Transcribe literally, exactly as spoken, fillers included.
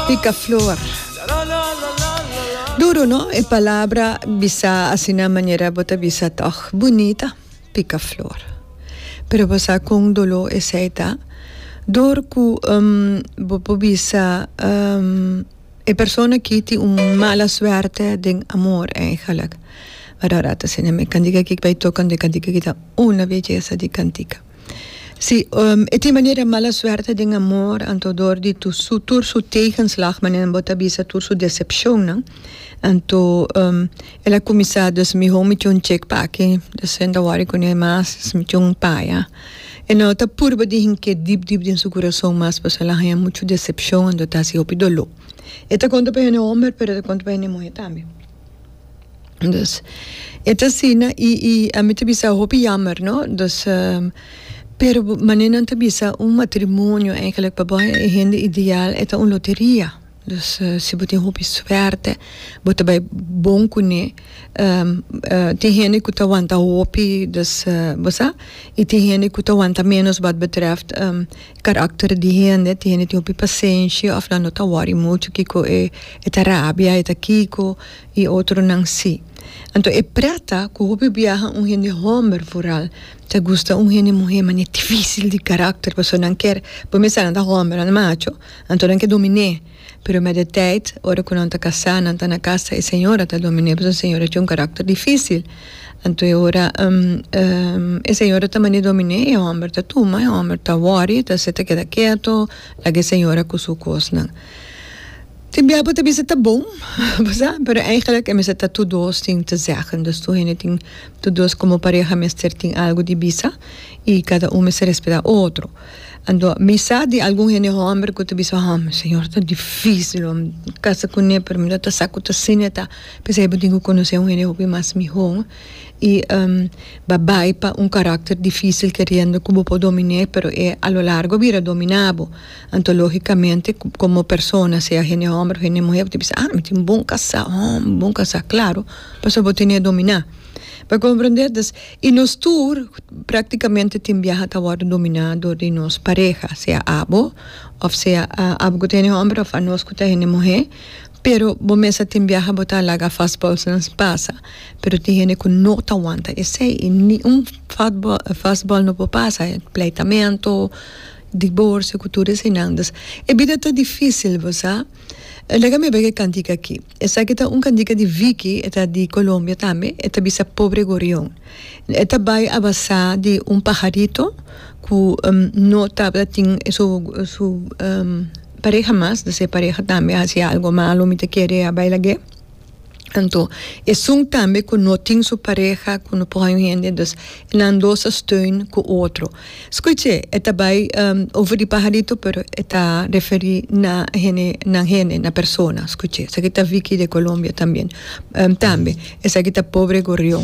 Picaflor. Duro, no? E palabra bisa asina manera bo ta bisa toch bunita, picaflor. Pero bo sa con dolo esey ta? Door cu um, bo por bisa um, e persona aki tin un mala suerte den amor eigenlijk. Maar ora ta asina mi cantica aki bay toca e cantica aki ta una belleza di cantica. Si, um, e tin manera mala suerte den amor, anto door di tu su tur su tegenslag, manera bo ta bisa tur su decepcion, no? Anto um, el a cuminsa, dus miho mi un check pa aki, dus e n' ta worry cu ne mas, mi un paya. E no ta purba di hinke diep diep den su curason mas, pasobra el a haya mucho decepcion, anto ta haci hopi dolo. E ta conta pa hende homber, pero e ta conta pa hende muhe tambe. Dus, e ta asina, y, y ami ta bisa hopi jammer, no? Dus, um, pero manera nan ta bisa un matrimonio eigenlijk pa bo e hende ideal e ta un loteria. Dus uh, si bo tin hopi suerte, bo ta bay bon cune, um, uh, tin hende cu ta wanta hopi, dus uh, bo sa, y tin hende cu ta wanta menos wat betreft um, karakter di hende, tin hende tin hopi pasenshi, of nan no ta worry mucho kiko e, e ta rabia, e ta kiko, y otronan si. Anto e preta cu hopi biaha un hende homber vooral ta gusta un hende muhe mane dificil di karakter, pasobra nan kier por mester nan ta homber, nan macho, anto nan ke domine. Pero met de tijd, ora cu nan ta casa, nan ta na casa, e señora ta domine, pasobra e señora tin un karakter dificil. Anto e ora um, um, e señora ta mane domine, e homber ta tuma, e homber ta worry, ta se ta keda keto, laga e señora cu su cosnan. Tin bia bo ta bisa ta bon, bo sa, pero eigenlijk e mester ta tur dos tin te zeggen. Dus tur hende tin, tur dos como pareha mester tin algo di bisa y cada un mester respeta otro. Anto, mi sa di algun hende homber cu ta bisa, "Ah, señor, ta dificil om casa cune, pero mi no ta sa cu ta asina ta." Pesey bo tin cu conoce un hende hopi mas miho y um, bo a bay pa un karakter dificil keriendo cu bo por domine, pero e a lo largo bira domina bo. Anto, logicamente, como persona, sea hende homber of hende muhe, bo ta bisa, "Ah, mi tin un bon casa, oh, un bon casa", claro, pasobra bo tene domina. Pa comprende, dus, y nos tur practicamente tin biaha ta wordo domina door di nos pareha, sea abo, of sea uh, abo cu ta hende homber of anos cu ta hende muhe, pero bo mes tin biaha bo ta laga fastballs nan pasa, pero tin hende cu no ta wanta esey, y ni un fastball, fastball no por pasa, pleitamento, divorcio, cu tur eseynan. Dus, e bida ta dificil, bo sa. Laga mi bay e cantica aki. Esaki ta un cantica di Vicky, e ta di Colombia tambe, e ta bisa "Pobre Gorrión". E ta bay a basa di un pajarito cu um, no tabata tin su, su um, pareha mas, dus e pareha tambe a haci algo malo, mi ta kere a bay lag'e. Anto, esun tambe cu no tin su pareha, cu no por hende, dus nan dos a steun cu otro. Scucha, e ta bay um, over di pajarito, pero e ta referi na hende, na hende, na persona. Scucha, esaki ta Vicky de Colombia tambe. Um, tambe, esaki ta "Pobre Gorrión".